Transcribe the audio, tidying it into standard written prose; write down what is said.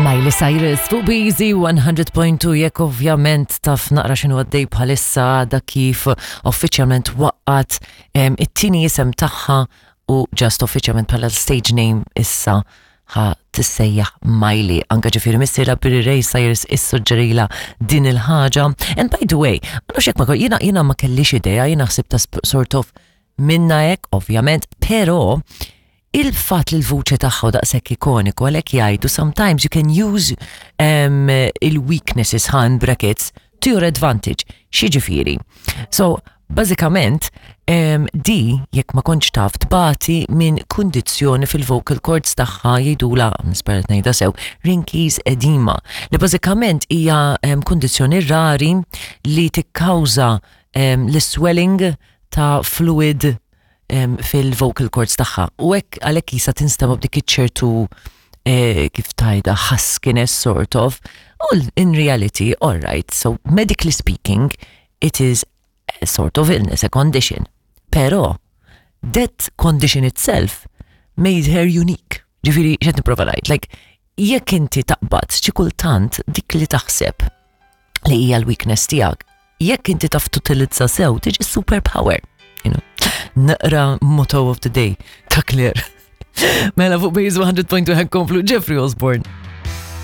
Miley Cyrus fuq Busy 100.2 jekk ovvjament taf naqra x'inhu għaddej bħalissa għadha kif uffiċjalment waqqat it-tieni isem tagħha u just uffiċjalment bħala stage name issa ħa tissejjaħ Miley. Anka ġifieri missierha Billy Ray Cyrus issuġġerila din il-ħaġa. And by the way, ma nafx jekk ma jiena jiena ma kellix idea, jiena ħsibta sort of minna hekk, ovvjament, però il-fatt li l-vuċi tagħha daqshekk ikoniku għalhekk jgħidu sometimes you can use um, il-weaknesses ħan brackets to your advantage. X'jiġifieri? So, bażikament, um, di jekk ma kontx taf tbati minn kundizzjoni fil-vocal cords tagħha jgħidula nispera ngħidha sew, Rinkies edema, li bażikament hija um, kundizzjoni rari li tikkawża um, l-swelling ta' fluid fil-vocal cords tagħha. U hekk għalhekk jisa tinstema' b'dik iċ-ċertu eh, kif tajda huskiness sort of. U in reality, all right, so medically speaking, it is a sort of illness, a condition. Pero, that condition itself made her unique. Ġifiri, xed niprofa ngħid, like, jekk inti taqbad xi kultant dik li taħseb li hija l-weakness tiegħek, jekk inti taf tutilizza sew tiġi superpower. You know? Naqra motto of the day ta' Claire. Mela fuq Base 100.2 komplu Jeffrey Osborne.